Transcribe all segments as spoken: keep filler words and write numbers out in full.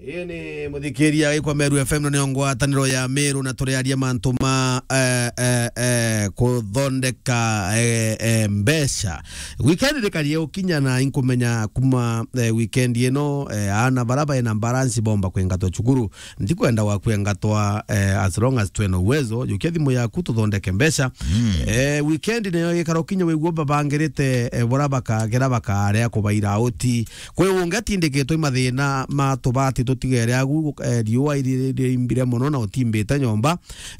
Ii ni muthikiria wikwa Meru F M, na niyo ngwataniro ya Meru, na turiaria mantu ma, eh, eh, eh, kuthondeka, eh, eh, mbeca. Weekend rikarie ukinya na inkumenya kuma, eh, weekend ino, eh, ana bara baina balance bomba kwengatwa cukuru. Ndikwenda gwakwengatwa, eh, as long as twina uwezo, jukia thimu yaku tuthondeke mbeca. Mm. Eh, weekend niyo ikara ukinya wigua babangirite, eh, bora bakagera bakaria kubaira uti. Kwi ungi atindikitwe i mathina ma tubati tutigere agu, eh, riua iri-, irimbire mono na utimbite nyomba.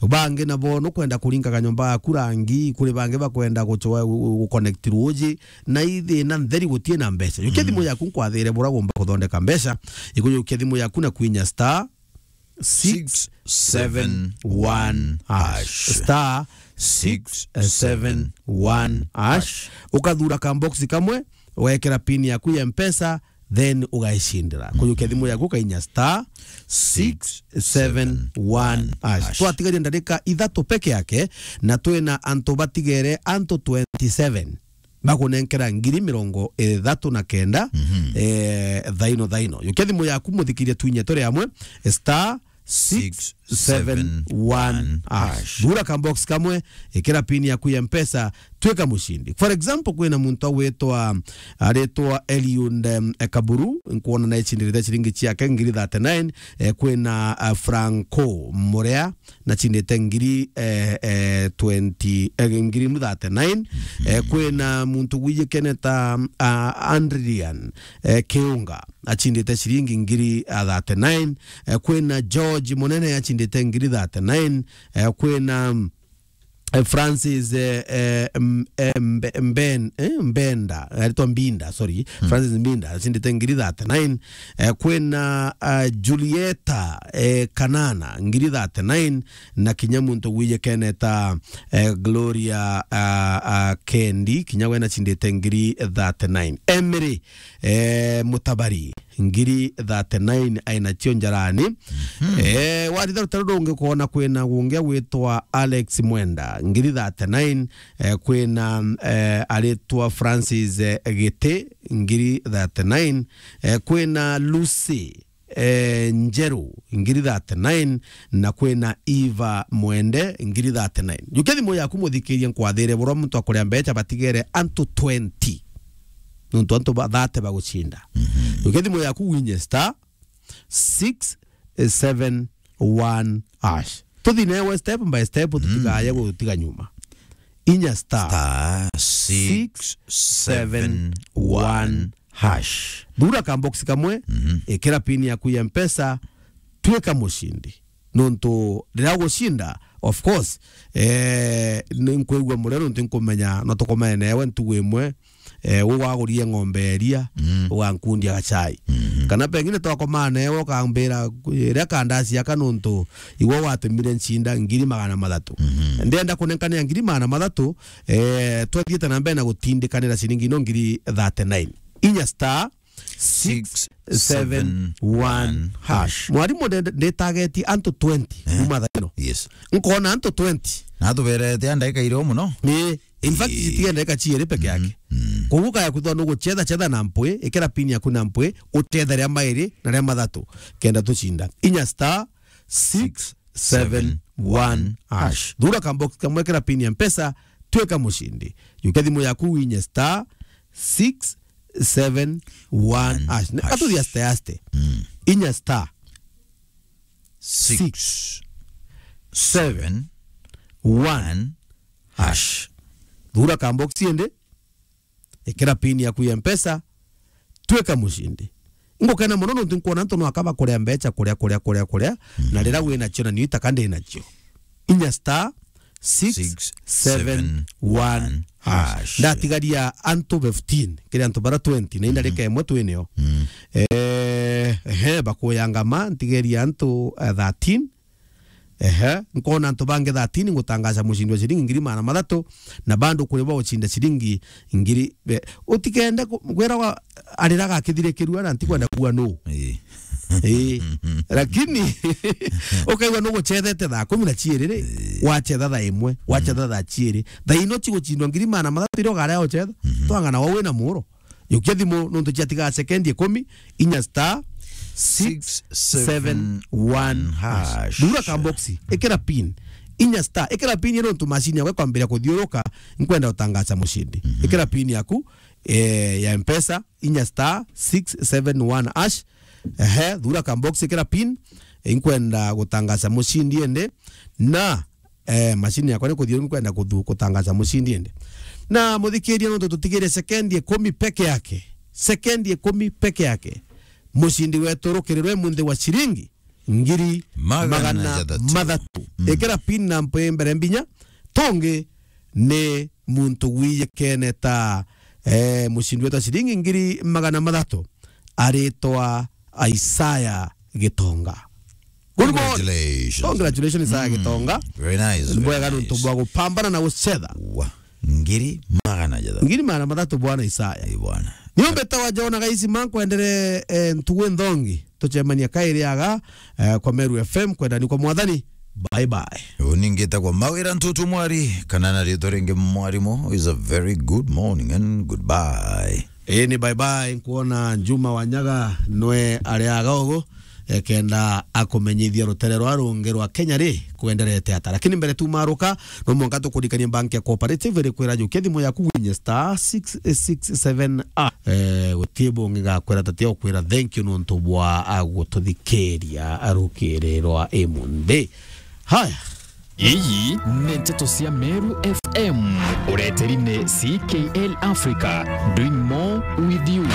Bangi nabo nukwenda kuringaga nyomba yaku rangi, kuri bangi bakwenda gucwa-, gu-, gu-, guconnect ruuji, na i thina ntheri gutie na mbeca. Jukia thimu yaku nkwathire bura gumba kuthondeka mbeca. Ikujukia thimu yaku na kwinya star six seven one hash. Star six seven one hash. Ukathura ka box kamwe, ugekira pin yaku ya Mpesa, then ugaicindira. Kujukia thimu yaku ukainya star six seven one hash. Twatigaria ndarika ithatu peke yake, na twina antu batigere antu twenty-seven. Bakunenkera ngiri mirongo ithatu na kenda, eh, thaino, thaino. Jukia thimu yaku muthikirie twinye turi amwe, star six seven one hash. Thura ka box kamwe, ikira pin yaku ya Mpesa, twika mucindi. For example, kwina muntu agwitwa, aritwa Eliud, em, Kaburu, nkwona na icindire ciringi ciake ngiri thirty-nine, eh, kwina, ah, Franco Murea, nachindite ngiri, eh, eh, twenty, eh, ngiri thirty-nine. Eh, kwina muntu gwijikene ta, ah, Adrian, eh, Kiunga, achindite ciringi ngiri, ah, thirty-nine. Eh, kwina George Munene achindite ngiri thirty-nine. Eh, kwina, eh, Francis, eh, eh, M-, eh, Mbe-, Mben-, eh, Mbenda, aritwa Mbinda, sorry. Francis Mbinda, achindite ngiri thirty-nine. Eh, kwina, ah, Julieta, eh, Kanana, ngiri thirty-nine, na kinya muntu gwijikene ta, eh, Gloria, ah, ah, Kendi, kinya we nachindite ngiri thirty-nine. Emery, eh, Mutabari, ngiri thirty-nine ainacio njarani. Eh, waritha rutaro rungi ukona kwina ungi agwitwa Alex Mwenda, ngiri thirty-nine. Eh, kwina, eh, aritwa Francis, eh, Giti, ngiri thirty-nine. Eh, kwina Lucy, eh, Njeru, ngiri thirty-nine, na kwina Eva Mwende, ngiri thirty-nine. Jukia thimu yaku muthikirie nkwathire burwa muntu akuria mbeca batigere antu twenty. Nontu antu ba thirty bagucinda. Jukia thimu yaku winye star six seven one hash. Tuthi newe step by step, tutigaye gutiga nyuma. Inya star six seven one hash. Thura ka box kamwe, ikira pin yaku ya Mpesa, twika mucindi. Nontu riria ugucinda, of course, eh, ni nkwigua muria nontu nkumenya no tukomene newe ntugu imwe, eh, ugwagurie ng'ombe ya iria, ugankundia gachai. Kana pengine twakomana newe ukambira, "Iria kandasi aka nontu igwe watumire ncinda ngiri magana mathatu." Ndienda kunenkanira ngiri magana mathatu, eh, twathiite na mbere na gutindikanira ciringi ino ngiri thirty-nine. Inya star six seven one hash. Mwarimu, nde-, nditagetie antu twenty kuma thaa ino. Yes. Nkona antu twenty. Na tuberete a ndagika irio muno. Ni, in fact, citige ndagika ciiri peke yake. Koguo kaya kwithwa nuguchetha, chetha na mpwi, ikira pin yaku na mpwi, uchethe ria mairi na ria mathatu, kenda tucinda. Inya star six seven one hash. Thura ka box kamwe, ikira pin ya Mpesa, twika mucindi. Jukia thimu yaku winye star six seven one hash. Atuthi aste aste. Inya star six seven one hash. Thura ka box indi, ikira pin yaku ya Mpesa, twika mucindi. Ngukena muno nontu nkwona antu no akaba kuria mbeca, kuria, kuria, kuria, kuria, na riria wina cio na niu itaka ndi nacio. Inya star six seven one hash. Ndatigaria antu fifteen, kiri antu bara twenty, na indarika imwe twinio. Eh, ehe, bakuyangama, ntigeria antu, eh, thirteen. Ehe, nkona antu bangi thirteen ngutangaza mucindi wa ciringi ngiri magana mathatu, na bado kuri ba ucinda ciringi ngiri, be-, utikende ku-, gwira wa, ariraga akithirikirua na ntikwenda kuua nu. Ii. Ii. Lakini, ukaigua nuguchethete thaa kumi na ciiri ri, wachetha thaa imwe, wachetha thaa ciiri. Thaa ino cigucindwa ngiri magana mathatu iria ugaria uchetha, twang'ana wau wina muro. Jukia thimu nontu ciatiga sekendi ikumi, inya star six seven one hash. Thura ka box, ikira pin. Inya star, ikira pin ino ntu machine yakwa ikwambiria kuthiuruka, nkwenda gutangaza mucindi. Mhm. Ikira pin yaku, eh, ya Mpesa, inya star six seven one hash. Ehe, thura ka box, ikira pin, eh, nkwenda gutangaza mucindi ende. Na, eh, machine yakwa ni kuthiu nkwenda kuthu-, gutangaza mucindi ende. Na muthikiria, nontu tutigire sekendi ikumi peke yake. Sekendi ikumi peke yake. Mucindi wetu rukirirwe munthi wa ciringi ngiri magana mathatu. Ikira pin na mpe mbere mbinya, tungi ni muntu wijikene ta, eh, mucindi wetu wa ciringi ngiri magana mathatu aritwa Isaya Gitonga. Good morning. Congratulations. Congratulations, Isaya Gitonga. Very nice, very nice. Ni bwega nontu bwa gupambana na gucetha. Wa. Ngiri magana jathatu. Ngiri magana mathatu, bwana Isaya. Ii, bwana. Niyo mbetawa Jona Gaisi, mankwendere, eh, ntugu nthongi. Tucemania kairi aga, eh, kwa Meru F M, kwendani kwa Mwathani. Bye bye. Uni ngitagwa Mawira Ntutu Mwari, kana na ritwa ringi Mwarimu, is a very good morning and goodbye. Ii, ni bye bye. Nkuona Juma Wanyaga nwe ariaga ugu, eh, kenda akumenyithia rutere rwa rungi rwa Kenya ri kwenderete ata. Lakini mbere tumaruka, no mwanka tukurikanie bank ya Cooperative iri kwira jukia thimu yaku winye star six six seven a. Eh, gutie bungi gakwira tatia ukwira thank you nontu bwa, ah, gututhikiria rukiri rwa imunthi. Haya. Iyi ni nteto cia Meru F M. Ureteri ni C K L Africa, doing more with you.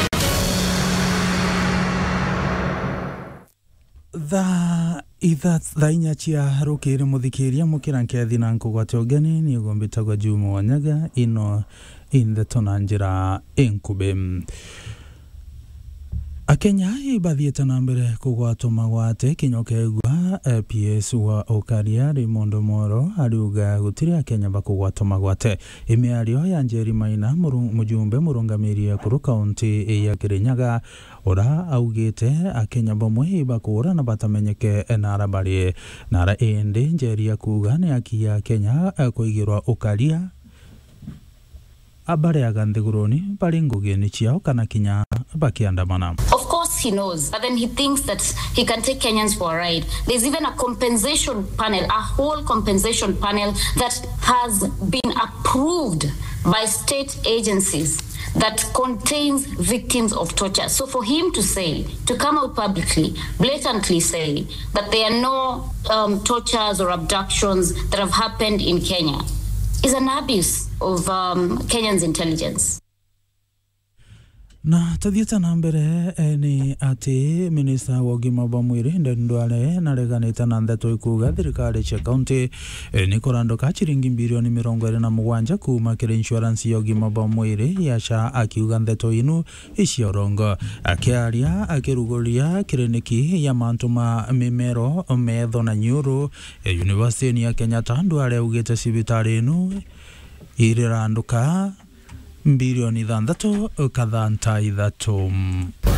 Thaa itha-, thaa inya cia rukiri, muthikiria, mukira nkethi na nkugwate ugeni, ni ugumbitagwa Juma Wanyaga, ino i ndeto na njira inkubi. Akenya ibathiite na mbere kugwatwa magwate kinya ukeegua, eh, P S wa Ukaria Raymond Omolo ariuga gutiri Akenya bakugwatwa magwate. Imiario ya Njeri Maina, muru-, mujumbe murungamiri ekuru kaunti ya Kirinyaga, ura augite Akenya bamwe ibakuura na batamenyeke nara bari. Nara indi Njeri akuuga ni aki ya Akenya, eh, kuigirwa ukaria, abareaga nthiguruni bari ngugini ciao kana kinya bakiandamana. Of course he knows, but then he thinks that he can take Kenyans for a ride. There's even a compensation panel, a whole compensation panel that has been approved by state agencies that contains victims of torture. So for him to say, to come out publicly, blatantly say that there are no, um, tortures or abductions that have happened in Kenya is an abuse of, um, Kenyans' intelligence. Na tuthiite na mbere, eh, ni ati minista wa ugima bwa mwiri, Aden Duale, nareganite na ndeto ikuuga thirikari cia kaunti, eh, ni kuranduka ciringi bilioni mirongo iri na mugwanja kuuma kiri insurance ya ugima bwa mwiri ya SHA, akiuga ndeto inu icia urongo. Akiaria akiruguria kiriniki ya mantu ma mimero, metho na nyuru, eh, University ya Kenyatta, Duale augite cibitari inu iriranduka bilioni ithanthatu kathanta ithatu.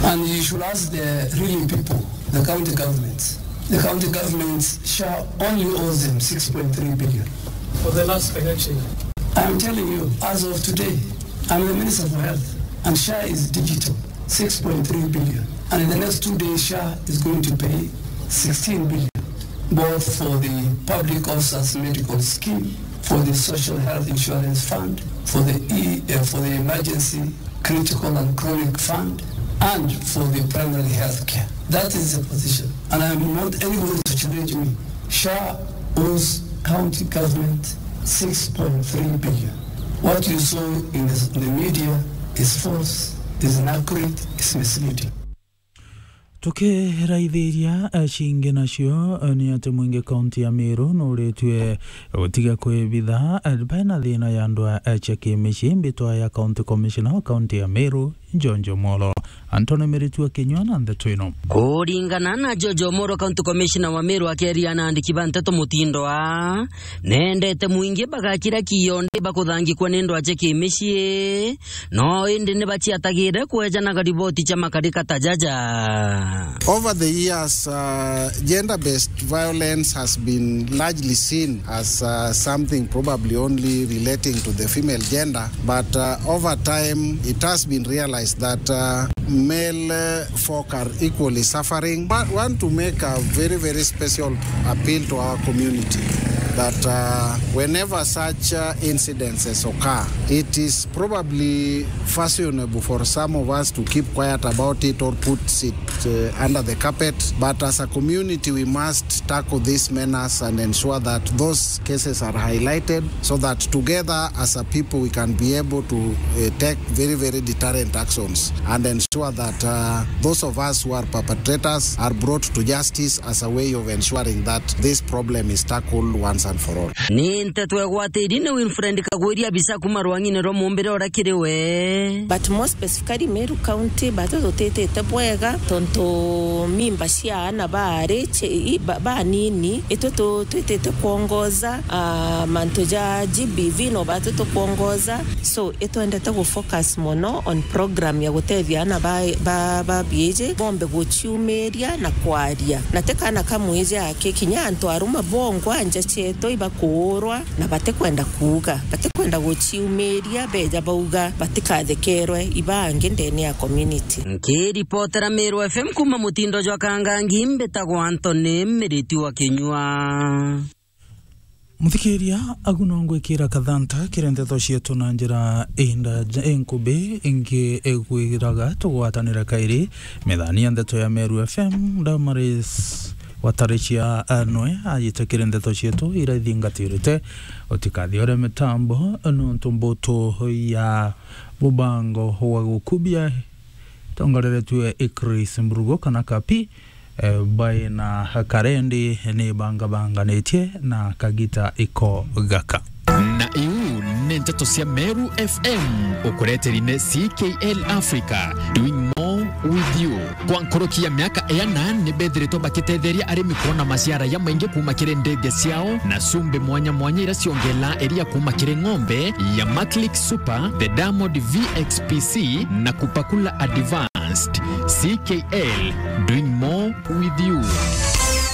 And you should ask the real people, the county governments. The county governments, SHA only owes them six point three billion. For the last financial year. I'm telling you, as of today, I'm the Minister for Health, and SHA is digital, six point three billion. And in the next two days, SHA is going to pay sixteen billion, both for the public officers medical scheme, for the social health insurance fund, for the e-, uh, for the emergency critical and chronic fund, and for the primary health care. That is the position. And I'm not anybody to challenge me. SHA owes county government six point three billion. What you saw in the, the media is false, is inaccurate, is misleading. Tukiraithiria, eh, cingi nacio, eh, ni ati mwingi kaunti ya Meru nuritue gutiga kwibitha, eh, baina thina ya ndwaa, eh, cia kimicii. Mbitwa ya County Commissioner wa kaunti ya Meru, George Omolo, Anthony Miritu akinyua na ndeto ino. Kuringana na George Omolo, County Commissioner wa Meru, akeria na andiki ba nteto mutindo aa, nendete mwingi bagakira kiondi bakuthangikwa ni ndwaa cia kimicii. No indi ni baciatagire kwejanaga riboti cia makarika ta jaja. Over the years, uh, gender-based violence has been largely seen as, uh, something probably only relating to the female gender, but, uh, over time it has been realized that, uh, male, uh, folk are equally suffering. But want to make a very, very special appeal to our community that, uh, whenever such, uh, incidences occur, it is probably fashionable for some of us to keep quiet about it or put it, uh, under the carpet. But as a community, we must tackle this menace and ensure that those cases are highlighted so that together as a people we can be able to, uh, take very, very deterrent actions and ensure that, uh, those of us who are perpetrators are brought to justice as a way of ensuring that this problem is tackled once and for all. Ni nteto egwatiri ni Wilfred Kagwiri, abisa kuma rwang'ine rwa Mumbire uria kiri we. But most specifically Meru County, batu tutitite bwega tontu mimba cia aana baari ci-, i-, ba-, banini, itwe tu-, twitite kwongoza, ah, mantu ja G B V no batu tukwongoza. So, itwendete gu focus mono on program ya gutethia aana ba, ba, ba biiji bombe guciumiria na kwaria. Na ti kaana ka mwiji aki, kinya antu arume bongwa nja cietu ibakuurwa na batikwenda kuuga, batikwenda guciumiria, beja bauga batikathekerwe ibangi ndene ya community. Nkiripotera Meru F M kuma mutindo jwa Kangangi, mbitagwa Anthony Miriti wa Kinyua. Muthikiria, agu no ngwikira kathanta kiri ndeto cietu na njira inda-, inkubi, ingi igwiraga tugwatanire kairi. Methani ya ndeto ya Meru F M, Damaris Wataricia, eh, nwe ajite kiri ndeto cietu iria ithingatirite. Utikathiore mitambo, nontu mbutu ya mubango wa gukubia itongoreretue i Chris Mburugu kana Kapi, eh, bai na karendi ni bangabanganitie na kagita iko gaka. Na iu ni nteto cia Meru F M, ukureteri ni C K L Africa, doing more with you. Kwa nkuruki ya miaka iana, ni bethiritwe bakitetheria arimi kwona maciara jamaingi kuma kiri ndithia ciao na cumbi mwanya mwanya iria ciongelaa iria kuma kiri ng'ombe ya Maclick Super, the Diamond V X P C na Kupakula Advanced. C K L, doing more with you.